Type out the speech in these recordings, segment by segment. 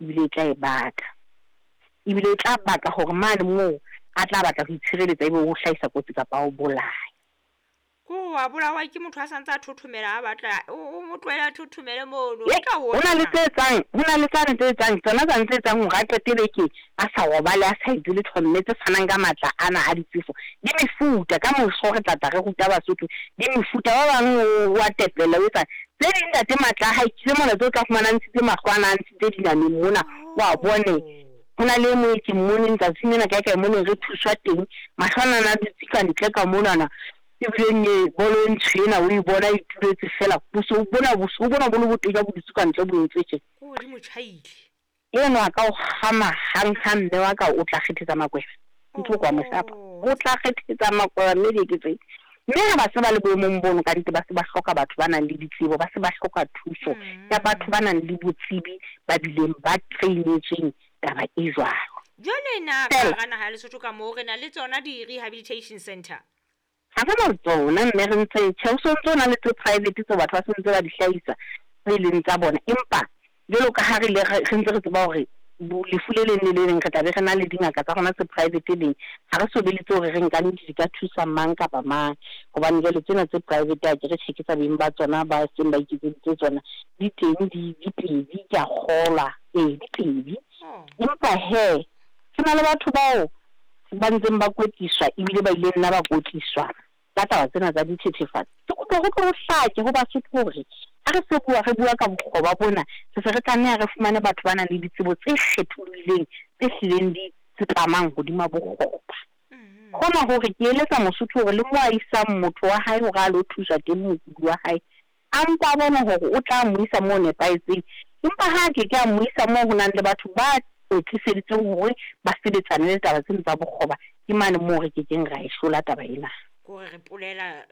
Ebile e tla e baka. Ebile e tla baka hore mane moo a tla batla ho itshireletsa ebe o hlahisa kotsi kapa o bolaya. Ko wa bolawa ke motho a santse a thothomela a batla o mo tlohele a thothomele mono. Ho na le tse etsang, ho na le tsane tse etsang, tsona tsane tse etsang hore a qetele ke a sa robale, a sa etse letho, mme tse fanang ka matla ana a ditsefo. Di mefuta, ka moso re tla tla re ruta Basotho, di mefuta. Ba bang o a tepela, o etsa tse ding ntate matla a hae kile mona tse o tla fumana a ntshitse mahlo ana, a ntshitse dinameng mona, wa bone. Ho na le e mong ke mmoneng tsatsing lena kae kae moneng re thuswa teng, mahlo ana a dutse ka ntle ka monana, ebileng e bolo e ntsho ena o e bona e ituletse fela, bosweu bona bosweu bona bo le botenya bo dutse ka ntle bo entse tje. Ko di mo tjhaile. Eno a ka o kgama hang hang mme wa ka o tla kgethetsa makweba. Ntho kwa moshapa. O tla kgethetsa makweba mme di ke tse. Mme ha ba se ba le boemong bono ka nnete ba se ba hloka batho ba nang le ditsebo, ba se ba hloka thuso ya batho ba nang le botsebi ba bileng ba trainetsweng taba e jwalo. Jwale na ka hara naha ya Lesotho ka moo re na le tsona di-rehabilitation center? Ha re na tsona mme re ntse tjhe, ho so ntso na le tse private tseo batho ba se ntse ba di hlahisa tse leng tsa bona. Empa jwalo ka ha re le re ntse re tseba hore lefu le leng le le leng re tla be re na le dingaka tsa rona tse private leng, ha re so be le tseo re reng ka nnete di ka thusa mang kapa mang. Hobane jwale tsena tse private ha ke re tjhe ke tsa beng ba tsona ba seng ba iketseditse tsona, di teng di pedi ke a kgolwa, ee di pedi. Empa he ho na le batho bao ba ntseng ba kwetliswa ebile ba ile nna ba kwetliswa ka taba tsena tsa dithethefatsi. Ke kopa ho tlo hlake ho Basotho hore ha re se bua re bua ka bokgoba bona, re se re tlameha re fumane batho ba nang le ditsebo tse kgetholohileng tse hlileng di tsepamang hodima bokgoba. Hona hore ke eletsa Mosotho hore le mo a isang motho wa hae hore a lo thuswa teng mokudi wa hae, a mpa a bone hore o tla mo isa moo nepahetseng. Empa ha ke ke a mo isa moo ho nang le batho ba kwetliseditsweng hore ba sebetsane le taba tsena tsa bokgoba, ke mane moo re kekeng ra e hlola taba ena. Kore re polela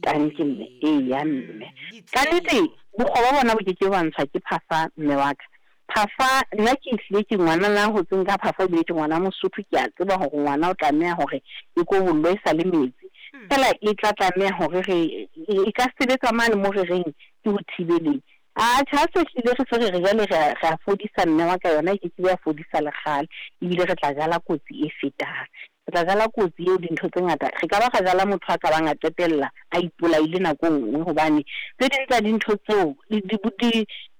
Tanki mme, eya mme. Ka nnete bokgoba bona bo keke ba ntshwa ke phafa mme wa ka. Phafa nna ke hlile ke ngwana na hotseng ka phafa ebile ke ngwana Mosotho, ke a tseba hore ngwana o tlameha hore e kobollwe e sa le metsi. Fela e tla tlameha hore re e ka sebetsa mane mo re reng ke ho thibeleng. Atjhe ha se hlile re se re re jwale re a fodisa mme wa ka, yona e ke ke ya fodisa lekgale, ebile re tla jala kotsi e fetang. Re tla jala kotsi eo dintho tse ngata. Re ka ba ra jala motho a ka bang a qetella a ipolaile nako e nngwe, hobane tse ding tsa dintho tseo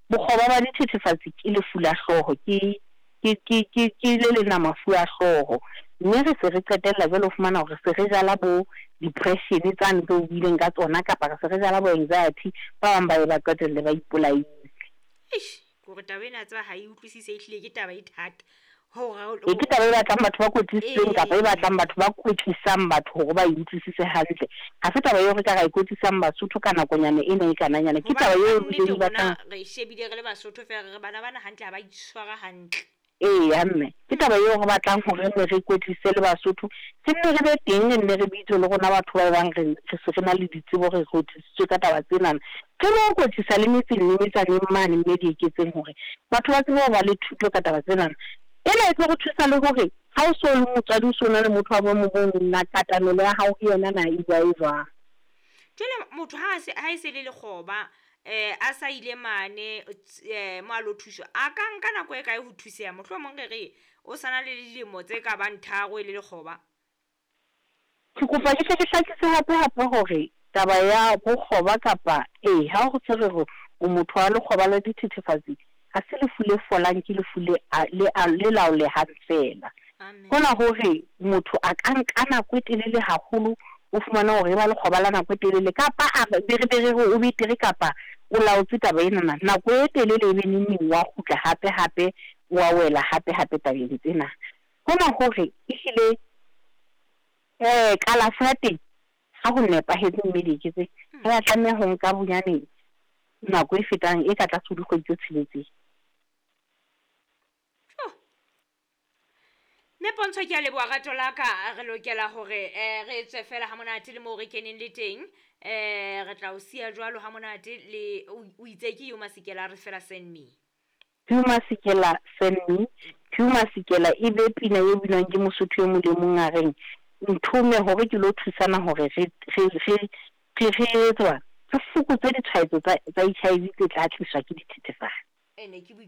bokgoba ba dithethefatsi ke lefu la hlooho, ke le leng la mafu a hlooho. Mme re se re qetella jwale ho fumana hore se re jala bo depression tsane tseo buileng ka tsona, kapa re se re jala bo anxiety, ba bang ba ye ba qetelle ba ipolaile. Eish, kore taba ena tseba ha e utlwisise, ehlile ke taba e thata. E ke taba e batlang batho ba kwetlisitsweng kapa e batlang batho ba kwetlisang batho hore ba e utlwisise hantle. Ha se taba eo re ka ra e kwetlisang Basotho ka nakonyana ena e kananyana. Ke taba eo e batlang re shebile re le Basotho fela re bana bana hantle ha ba itshwara hantle. Eya mme, ke taba eo re batlang hore re re kwetlise le Basotho, re nne re be teng, re nne re bitswe le rona batho ba bang re se re na le ditsebo, re kwetlisitswe ka taba tsenana. Re lo kwetlisa le metseng le metsaneng mane mme di eketseng hore batho ba tsebe ho ba le thuto ka taba tsenana. Ena e tlo re thusa le hore ha o so le motswadi, o so na le motho wa boemo bo na katamelo ya hao ho yena na e bua e jwang. Jwale motho ha e se le lekgoba, a sa ile mane mo a lo thuswa, a ka nka nako e kae ho thuseha? Mohlomong re re o sana le dilemo tse ka bang 3 e le lekgoba. Ke kopa ke tle ke hlakise hape hape hore taba ya bokgoba kapa ha ho se re re o motho wa lekgoba la dithethefatsi, ha se lefu le folang, ke lefu le laolehang fela. Hona hore motho a ka nka nako e telele haholo, o fumana hore e ba lekgoba la nako e telele, kapa a be re o betere kapa o laotse taba enana nako e telele, e be neng wa kgutla hape hape wa wela hape hape tabeng tsena. Hona hore ehlile kalafo ya teng ha ho nepahetse mme dieketse, re a tlameha ho nka bonyane nako e fetang e ka tlase ho dikgwedi tse 6. Mme Pontsho, ke a leboha rato la ka. Re lokela hore re tswe fela ha monate le moo re keneng le teng. Re tla o siya jwalo ha monate le o itse ke Hugh Masekela, re fela send me. Hugh Masekela send me. Hugh Masekela e be pina e binwang ke Mosotho e mong le mong a reng nthome hore ke lo thusana hore re re tswa re fokotse ditshwaetso tsa HIV tse tla tliswa ke dithethefatsi. Ene ke